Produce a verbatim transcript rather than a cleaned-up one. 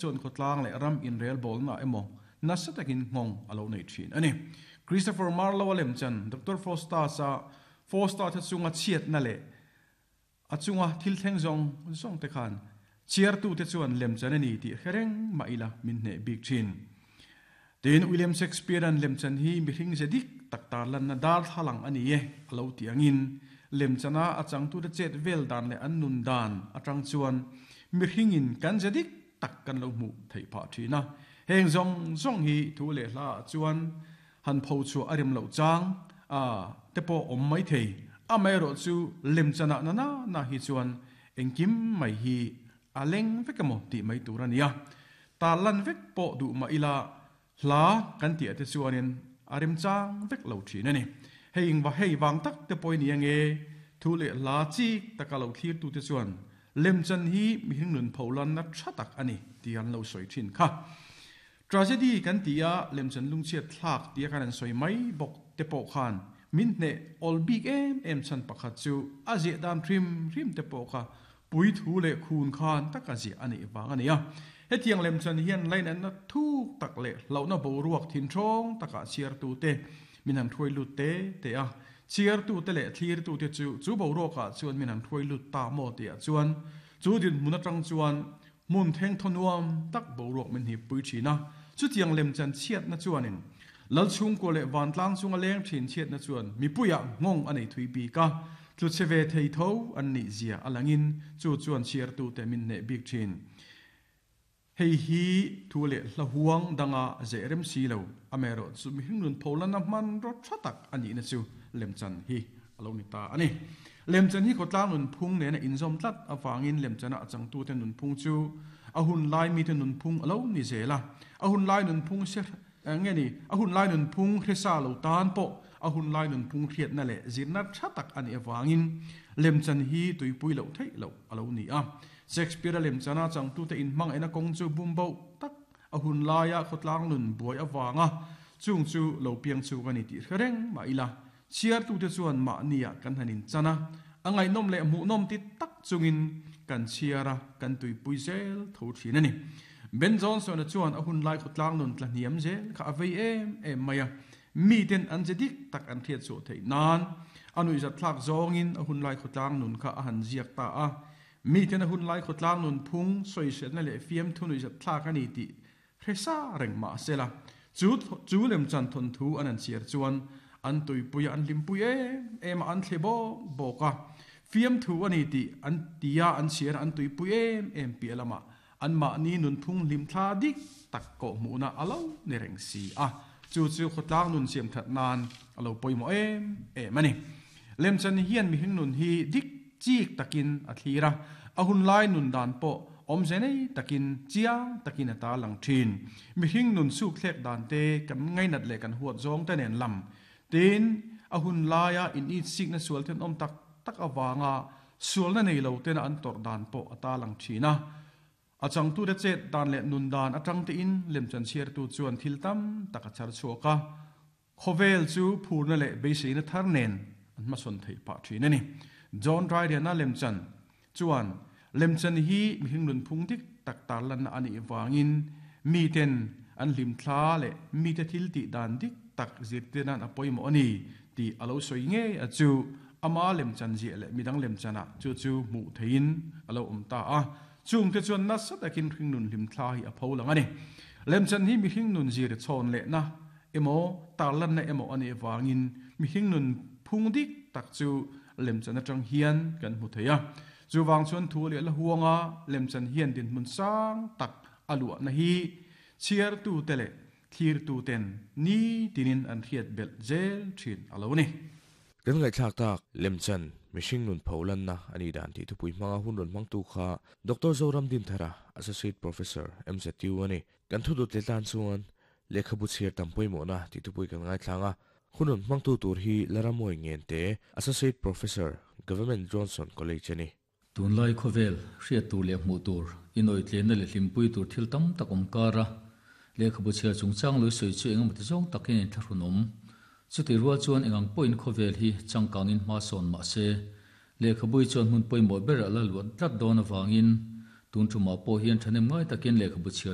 Chuan khawtlang leh ram inrel bawlna emaw nasa takin nghawng a lo nei thin a ni. Christopher Marlowe a lemchan Doctor Faustus-a Faustus-a chunga chhiatna leh a chunga thil thleng zawng zawng te khan chhiartute chuan lemchan a ni tih hre reng mah ila min hneh bik thin. Tin, William Shakespeare-a'n lemchan hi mihring ze dik tak tarlanna darthlalang a ni e a lo tih angin lemchana a changtute chet vel dan leh an nun dan atang chuan mihringin kan ze dik tak kan lo hmuh theih phah thin a. Heng zawng zawng hi thu leh hla ah chuan han pho chhuah a rem loh chang a te pawh awm mai thei. Amaherawh chu lemchanah na na na hi chuan engkim mai hi a leng vek emaw tih mai tur a nia. Tarlan vek pawh duh mah ila hla kan tih ah te chuanin a remchang vek lo thin a ni. Hei engva hei vang tak te pawh i ni ange, thu leh hla chik taka lo thlirtute chuan lemchan hi mihring nun pholanna tha tak a ni tih an lo sawi thin kha. Tragedy kan ti a, lemchan lungchhiat thlak tia kan an sawi mai bawk te pawh khan min hneh awl bik em em chhan pakhat chu a ziah dan hrim hrim te pawh kha pui thu leh khun khan taka ziah a neih vang a ni a. Hetiang lemchan hian lainatna thuk tak leh hlauhna boruak thinthawng takah chhiartute min han hruai lut te te a. Chhiartute leh thlirtute chu chu boruakah chuan min han hruai lut ta maw tihah chuan chu dinhmun atang chuan hmun thengthaw nuam tak boruak min hnipui thin a. Chutiang lemchan chhiatna chuanin Lal chhungkua leh vantlang chunga leng thin chhiatna chuan mipuiah nghawng a nei thui bik a, tlu chhe ve thei tho an nih zia a langin chu chuan chhiartute min hneh bik thin. Hei hi thu leh hla huang danga zeh rem si lo, amaherawh chu mihring nun pholanna hmanraw tha tak a nihna chu lemchan hi a lo ni ta a ni. Lemchan hi khawtlang nunphung nena inzawm tlat avangin lemchana a changtute nunphung chu a hun lai mite nunphung a lo ni zel a, a hun lai nunphung se nge ni, a hun lai nunphung hresa lo tan pawh a hun lai nunphung hriatna leh zirna tha tak a nih avangin lemchan hi tuipui loh theih loh a lo ni a. Shakespeare-a lemchana changtute inhmangaihna kawng chu bumboh tak a hun laia khawtlang nun buai avanga chung chu lo piang chuk a ni tih hre reng mah ila, chhiartute chuan mahniah kan han inchan a, a ngaihnawm leh hmuhnawm ti tak chungin kan chhiar a, kan tuipui zel tho thin a ni. Ben Johnson-a chuan a hun lai khawtlang nun tla hniam zel kha a vei em em mai a, miten an ze dik tak an hriat chhuah theih nan a nuihzatthlak zawngin a hun lai khawtlang nun kha a han ziak ta a. Miten a hun lai khawtlang nun phung sawiselna leh fiamthu nuihzatthlak a ni tih hre sa reng mah sela, chu chu lemchan thawnthu an han chhiar chuan an tuipui a, an hlimpui em em a, an thle bawk bawk a. Fiamthu a ni tih an tia an chhiar a, an tuipui em em piah lamah anmahni nunphung hlimthla dik tak kawhhmuhna a lo ni reng si a, chu chu khawtlang nun siam that nan a lo pawimawh em em a ni. Lemchan hian mihring nun hi dik chik takin a thlir a, a hunlai nun dan pawh awmze nei takin chiang takin a ta lang thin. Mihring nun sukthlek dan te kan ngainat leh kan huat zawng te nen lam tin a hunlaia initsikna sual thenawm tak tak avanga sualna nei lo tena an tawrh dan pawh a ta lang thin a. A changtute chet dan leh nun dan atang tein lemchan chhiartu chuan thil tam tak a chhar chhuak a, khawvel chu phurna leh beiseina thar nen an hmasawn theih phah thin a ni. John Dryden-a lemchan chuan lemchan hi mihring nunphung dik tak tarlanna a nih vangin miten an hlimthla leh mite thil tih dan dik tak zirtir nan a pawimawh a ni tih a lo sawi ngei a chu ama lemchan ziah leh midang lemchanah chu chu hmuh theihin a lo awm ta a. Chungte chuan nasa takin hringnun hlimthla hi a pho lang a ni. Lemchan hi mihring nun zir chhawn lehna emaw tarlanna emaw a nih avangin mihring nun phung dik tak chu lemchan atang hian kan hmu thei a. Chuvang chuan thu leh la huanga lemchan hian dinhmun sang tak a luahna hi chhiartute leh thlirtuten ni tinin an hriat belh zel thin a lo ni. Kan ngaihthlak tak, lemchan, mihring nun pho lanna a nih dan tih thupui hmanga hun rawn hmangtu kha Doctor Zoram Dinthara, Associate Professor, M Z U a ni. Kan thudut leh tan chuan lehkhabu chhiar tam pawimawhna tih thupui kan ngaithlang a, hun rawn hmangtu tur hi Laramuai Ngente, Associate Professor, Government Johnson College a ni. Tunlai khawvel, hriat tur leh hmuh tur, inawitlenna leh hlimpui tur thil tam tak awm kar a, lehkhabu chhiar chungchang lui sawi chu engemaw ti zawng takin a inthlahrun awm. Chutih rual chuan engang pawhin khawvel hi changkangin hma sawn mah se, lehkhabui chuan hmun pawimawh ber a la luat tlat dawn avangin Tun tuma pawh hian thanem ngai takin lehkhabu chhiar